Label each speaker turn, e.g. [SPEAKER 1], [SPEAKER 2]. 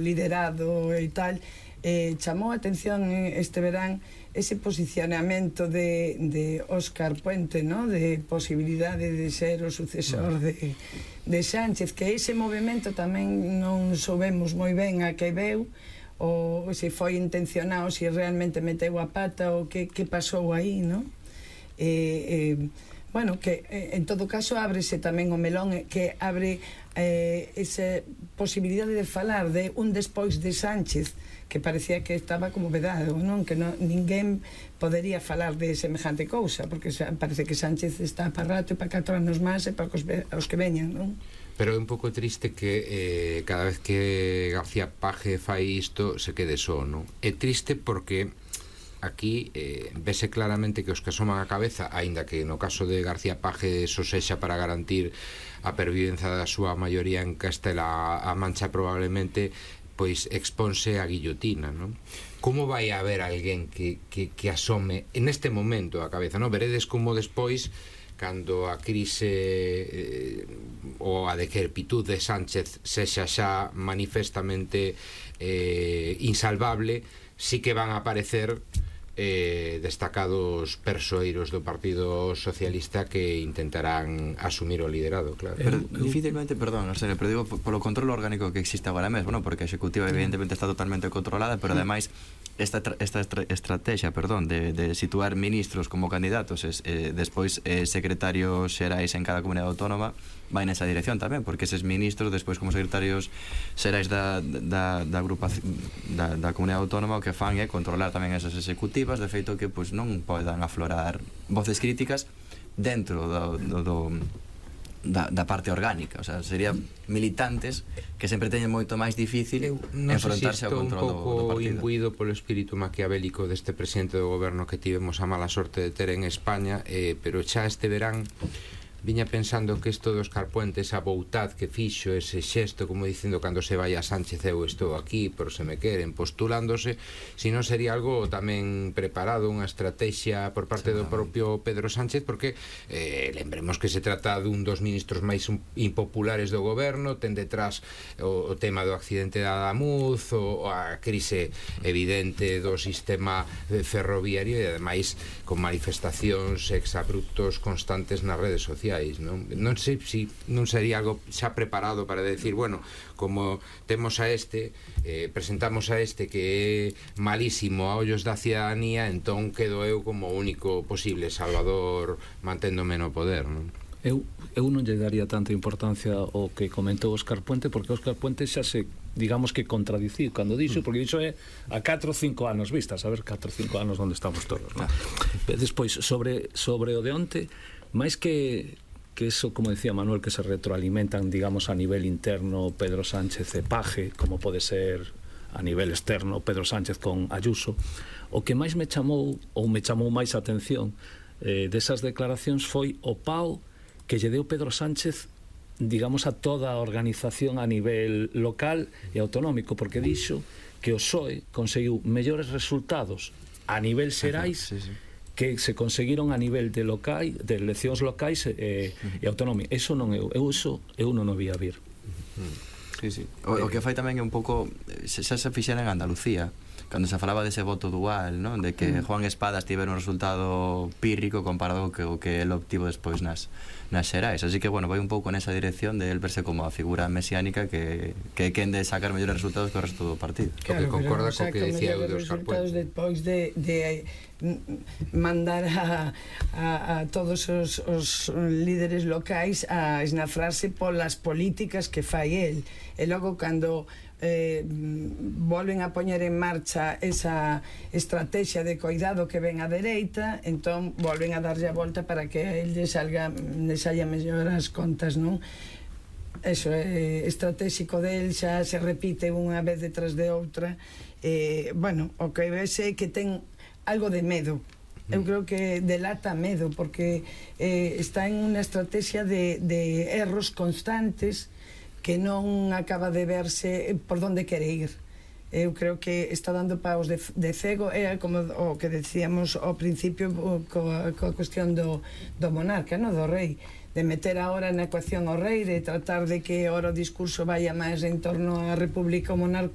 [SPEAKER 1] liderado e tal, chamou a atención este verán ese posicionamento de Óscar Puente, ¿no? De posibilidade de ser o sucesor de Sánchez, que ese movimento tamén non soubemos moi ben a que veu, ou se foi intencionado, se realmente meteu a pata, ou que pasou aí, ¿no? Bueno, que en todo caso ábrese tamén o melón, que abre esa posibilidade de falar de un despois de Sánchez, que parecía que estaba como vedado, non? Que ninguén podería falar de semejante cousa, porque parece que Sánchez está para rato e para 4 anos máis e para os que veñan, non?
[SPEAKER 2] Pero é un pouco triste que cada vez que García Paje fai isto se quede só, non? É triste porque aquí vese claramente que os que asoman a cabeza, aínda que no caso de García Paje só sexa para garantir a pervivencia da súa maioría en Castela-A Mancha, probablemente pois exponse a guillotina, non? Como vai haber alguén que asome neste momento a cabeza, non? Veredes como despois, cando a crise ou a decrepitud de Sánchez sexa xa manifestamente insalvable, sí que van a aparecer destacados persoeiros do Partido Socialista que intentarán asumir o liderado, claro.
[SPEAKER 3] Pero difícilmente, perdón, no sé, pero digo polo control orgánico que existe agora mesmo, ¿no? Porque a executiva evidentemente está totalmente controlada, pero ademais esta estrategia, perdón, de situar ministros como candidatos despois secretarios xerais en cada comunidade autónoma, vai nesa dirección tamén, porque eses ministros despois como secretarios xerais da comunidade autónoma o que fan é controlar tamén esas executivas, de feito que pois non podan aflorar voces críticas dentro da parte orgánica, o sea, serían militantes que sempre teñen moito máis difícil enfrontarse ao control do partido.
[SPEAKER 2] Un pouco imbuído polo espírito maquiavélico deste presidente do goberno que tivemos a mala sorte de ter en España, pero xa este verán viña pensando que isto do Óscar Puente, esa boutad que fixo, ese xesto, como dicindo cando se vai a Sánchez eu estou aquí, por se me queren, postulándose, se non sería algo tamén preparado, unha estrategia por parte do propio Pedro Sánchez, porque lembremos que se trata dun dos ministros máis impopulares do goberno, ten detrás o tema do accidente da Adamuz, ou a crise evidente do sistema ferroviario, e ademais con manifestacións exabruptos constantes nas redes sociais. Non sei se non sería algo xa preparado para decir, bueno, como temos a presentamos a que é malísimo a ollos da cidadanía, entón quedo eu como único posible salvador manténdome no poder, non?
[SPEAKER 4] Eu non lle daría tanta importancia ao que comentou Óscar Puente, porque Óscar Puente xa se, digamos que contradicir cando dixo, porque dixo é a 4 ou 5 anos vista, saber 4 ou 5 anos onde estamos todos, non? Despois, sobre o de onte, máis que eso, como decía Manuel, que se retroalimentan, digamos, a nivel interno Pedro Sánchez e Paje, como pode ser a nivel externo Pedro Sánchez con Ayuso, o que máis me chamou máis a atención desas declaracións foi o pau que lle deu Pedro Sánchez, digamos, a toda a organización a nivel local e autonómico, porque dixo que o PSOE conseguiu mellores resultados a nivel xerais que se conseguiron a nivel de eleccións locais e autonómicas. Eso non eu non o vía vir.
[SPEAKER 3] O que fai tamén é un pouco, xa se fixera en Andalucía, cando se falaba dese voto dual, non? De que Juan Espadas tivera un resultado pírrico comparado co que el obtivo despois nas xerais. Así que, bueno, vai un pouco nesa dirección de el verse como a figura mesiánica que quen de sacar mellores resultados que o resto do partido.
[SPEAKER 2] Claro, que concorda co que decía eu de Óscar Puente.
[SPEAKER 1] Despois de mandar a todos os líderes locais a esnafrarse polas políticas que fai el, e logo cando volven a poñer en marcha esa estrategia de coidado que ven a dereita, entón volven a darlle a volta para que a el les saia mellor as contas, non? Eso é estratégico del, xa se repite unha vez detrás de outra. Bueno, o que vese é que ten algo de medo. Eu creo que delata medo, porque está en unha estrategia de erros constantes que non acaba de verse por onde quere ir. Eu creo que está dando paus de cego, é como o que decíamos ao principio coa cuestión do monarca, no? Do rei, de meter agora na ecuación ao rei, de tratar de que agora o discurso vaya máis en torno á república, o monarca